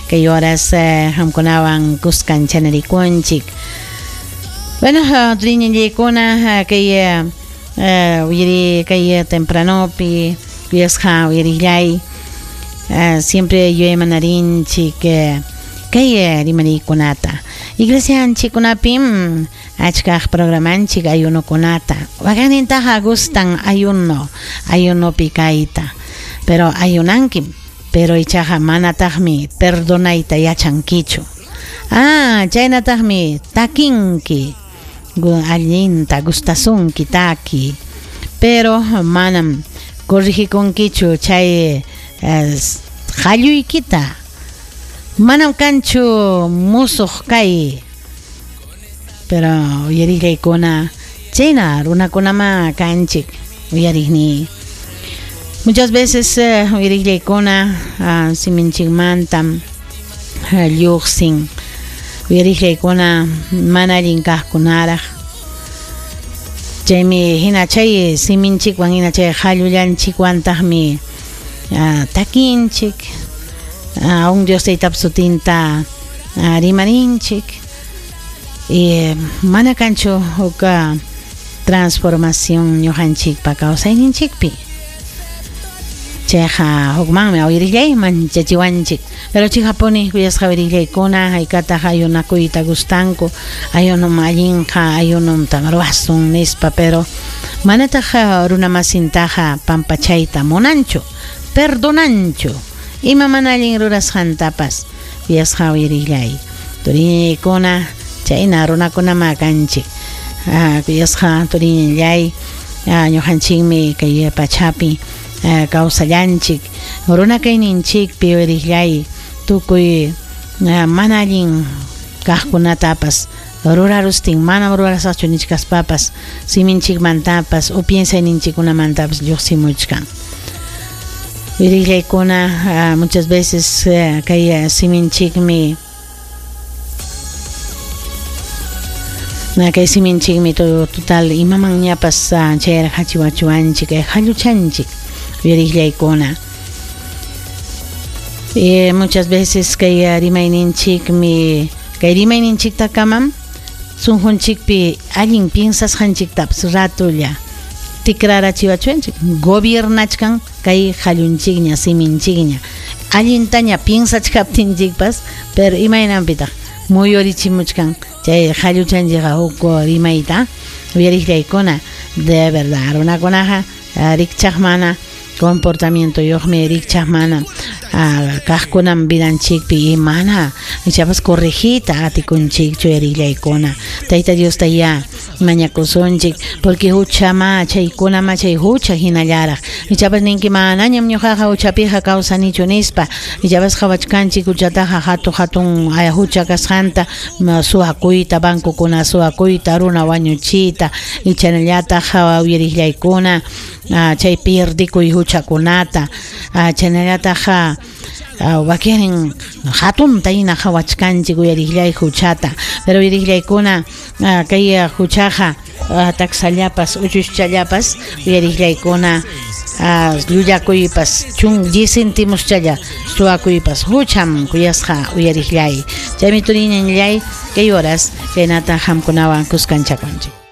Kay horas qamkunawan kuskanchanarikunchik. Bueno, turiñallaykuna kay uyari kay tempranopi kuyasqa uyarillay siempre yuyaymanarinchik kay rimariykunata. Iglesianchikkunapim achkaq programanchik ayunokunata. Wakinnintaqa gustan ayuno, ayunopi kayta. Pero ayunankim, pero ichaqa manataqmi perdonayta yachankichu. Ah, chaynataqmi takinki, allinta gustasunki taki, pero manam corrigikunkichu chay qalluykita. Manam kanchu musuq kay. Pero uyarillaykuna, chayna runakunama kanchik uyariqni. Muchas veces uyarillaykuna siminchikmantam lluqsin uyarillaykuna mana allin kaqkunaraq. Chaymi hina chay siminchikwan hina chay qallullanchikwantaqmi takinchik, un Dios Taytap sutinta rimarinchik. Y mana kanchu huk transformación ñuqanchikpa kawsayninchikpi. Chayqa hukmanmi uyarillay manchachiwanchik. Pero chikapuni kuyasqa uyarillaykuna haykataq ayunakuyta gustanku, ayunum allinqa, ayunumtam ruwasun nispa, pero manataq runamasintaqa pampachayta munanchu, perdonanchu ima mana allin rurasqantapas kuyasqa uyarillay. Turiñaykuna chayna runakunama kanchik. Kuyasqa turiñallay, ñuqanchikmi kay pachapi kawsallanchik, runa kayninchikpi uyarillay tukuy mana allin kaqkunatapas rurarustin manam rurasaqchu nichkaspapas siminchikmantapas o piensayninchikkunamantapas lluqsimuchkan. Uyarillaykuna muchas veces kay siminchikmi kay siminchikmi total imamanñapas chayraq hachiwachuwanchik qalluchanchik uyarillaykuna. Muchas veces kay rimayninchikmi kay rimayninchiktakamam sunqunchikpi allin piensasqanchiktapas ratulla tikrarachiwachuwanchik gobiernachkan kay qallunchikña siminchikña allintaña piensachkaptinchikpas pero imaynanpitaq muyurichimuchkan chay qalluchanchikqa huk rimayta uyariqllaykuna de verdad runakunaqa rikchaq mana comportamiento yuqmi rikchaq mana kaqkunam vidanchikpi y mana ichapas corregita atikunchikchu uyarillaykuna. Tayta Diosta ya mañakusunchik porque huchama chaykunama chay hucha hinallaraq ichapas ninki manañam ñuqaqa huchapiqa kawsanichu nispa ichapas qhawachkanchik huchataqa hatu hatun hucha kasqanta suwakuyta bancokuna suwakuyta runa wañuchiyta ichanallataq uyarillaykuna chay pierdikuy huchakunata chaynallataq wakirin hatunta hina qhawachkanchik uyarillay huchata pero uyarillaykuna kay huchaqa taksallapas uchuschallapas uyarillaykuna llullakuypas chun 10 centimuschalla suwakuypas hucham kuyasqa uyarillay. Chaymi turiñallay kay horas chaynata qamkunawan kuskanchakunchik.